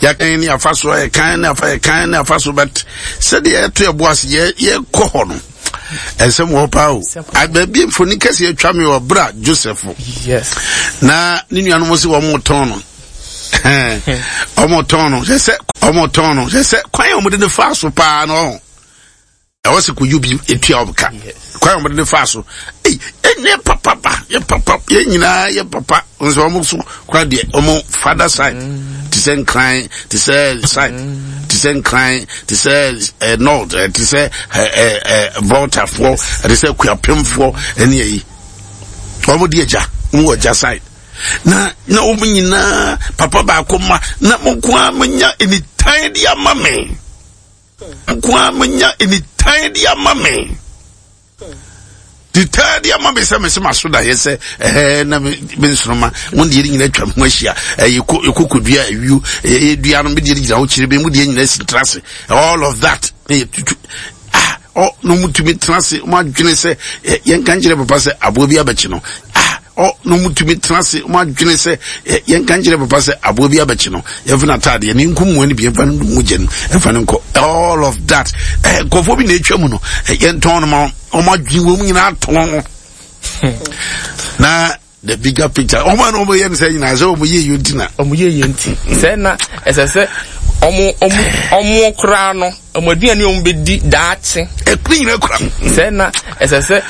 Yɛkan ne afa so, yɛkan ne afa, yɛkan ne afa so, but sɛdeɛ yɛto yɛbo ase yɛkɔ hɔ no, ɛnsɛm wɔ hɔ paa o. Baabi mfoni kɛse atwa me wɔ bra Joseph. Yes. Na ne nuanom sɛ wɔn tɔn no. Wɔn tɔn no, sɛ wɔn tɔn no, sɛ kwan a wɔde ne fa so paa no. Ɛwɔ sɛ koyo bi etua wɔn ka. Kwan a wɔde ne fa so. Ei, ɛnyɛ papa ba, yɛ papa, yɛn nyinaa yɛ papa. Nso wɔn so kora deɛ wɔn father side te sɛ Nkran, te sɛ side, te sɛ Nkran, te sɛ ɛ north, ɛ te sɛ ɛ ɛ ɛ Voltafoɔ, te sɛ Kuapemfoɔ ɛne ɛyi. Wɔn de agya, wɔn wɔ agya side. Na wɔn nyinaa papa baako ma na mo nko ara mo nya nitan de ama me. Nko ara menya nitan de ama me, nitan de ama me sɛ mese maso daeɛ sɛ ɛhɛ na me nsoroma mo deɛ nyina atwa me ho ahyia, ɛyɛ kɔkɔdua awio ɛyɛ dua no, me deɛ gyina hɔ kyerɛ bi, mo deɛ nyina si tra ase, all of that na yɛ tutu ah ɔ na ɔmo tumi tena ase, ɔmo adwene sɛ yɛnka nkyerɛ papa sɛ aboa bi abɛkye no. Ah, ɔ na ɔmo tumi tena ase, ɔmo adwene sɛ yɛnka nkyerɛ papa sɛ aboa bi abɛkye no, yɛmfa no ataadeɛ ne nkum mu ne bi, yɛmfa no mogya no, yɛmfa no nkɔ, all of that. Nkurɔfoɔ bi na atwa mu no, yɛntɔn no ma ɔmo adwene wɔ mu nyinaa tɔn na the bigger picture, ɔmo a na ɔmo yɛ no sɛ nyinaa sɛ ɔmo yɛ yɛ nti na ɔmo yɛ yɛ nti sɛ na ɛsɛ sɛ ɔmo koraa no ɔmo aduane ɔmo bɛdi daakye. Ɛkuri nyina kura. Sɛ na ɛsɛ sɛ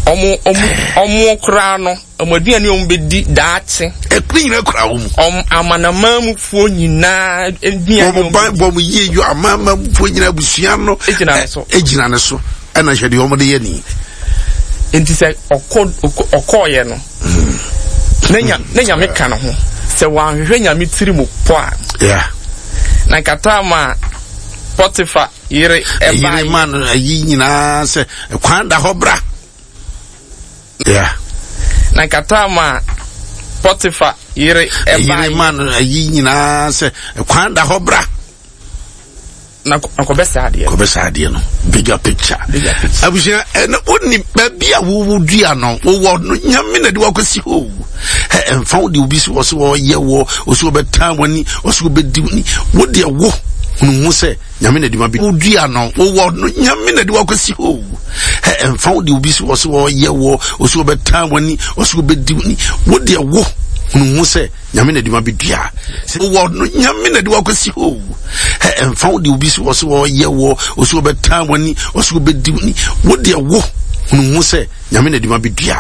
ɔmo koraa no ɔmo aduane ɔmo bɛdi daakye. Ɛkuri nyina kura wɔn mu. Ɔmo amanamanmufoɔ nyinaa aduane. Wɔn ban bɔ ɔmo yie yɔ amanamanmufoɔ nyinaa abusua no. Egyina ne so. Egyina ne so ɛna hwɛ deɛ ɔmo de yɛ ni. Nti sɛ ɔkɔ ɔkɔɔyɛ no na Nyame ka ne ho sɛ wanhwehwɛ Nyame tiri mu pɔ a. Yeah. Na nkata ma Potifa yere ɛbaa. Yere ma no ayi nyinaa sɛ kwan da hɔ bra. Yeah. Na nkata ma Potifa yere ɛbaa. Yere ma no ayi nyinaa sɛ kwan da hɔ bra. Na kɔbɛ saa adeɛ. Kɔbɛ saa adeɛ no, bigger picture. Bigger picture. Abusua ɛna wonni baabi a wowo dua no wowɔ no, Nyame na de wakɔsi hɔ. Ɛ ɛnfa wo de obi si wɔ so wɔyɛ wɔ ɔsi wɔbɛtan w'ani, ɔsi wɔbɛdi w'ani, wo deɛ wo hunu ho sɛ Nyame na de ma bi wo dua no wowɔ no, Nyame na de wakɔsi hɔ. Ɛ ɛnfa wo de obi si wɔ so wɔyɛ wɔ ɔsi wɔbɛtan w'ani, ɔsi wɔbɛdi w'ani, wo deɛ wo hunu ho sɛ Nyame na de ma bɛdua wɔ no, Nyame na de wakɔsi hɔ. Ɛ ɛmfa wo de obi si wɔ so wɔyɛ wɔ ɔsi wɔbɛtan w'ani, ɔsi wɔbɛdi w'ani, wo deɛ wo hunu ho sɛ Nyame na de ma bɛdua.